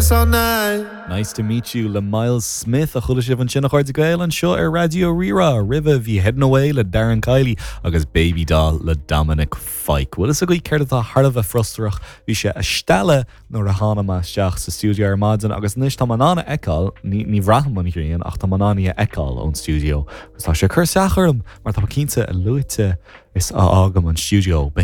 this all night. Nice to meet you le Myles Smith a chuala sibh ansin a chairde Gael anseo ar Raidió Rí-Rá. Roimhe bhí Heading Away le Darren Kiely agus Baby Doll le Dominic Fike. Bhfuil fhios agaibh céard atá thar a bheith frustrach? Bhí sé ag stealladh nuair a tháinig mé isteach sa stiúideo ar maidin agus anois tá mé in ann a fheiceáil, ní ní bhraithim an ghrian ach tá mé in ann í a fheiceáil ón stiúideo agus tá sé ag cur isteach orm mar tá mé cinnte a luaite is a fhágaim an stiúideo.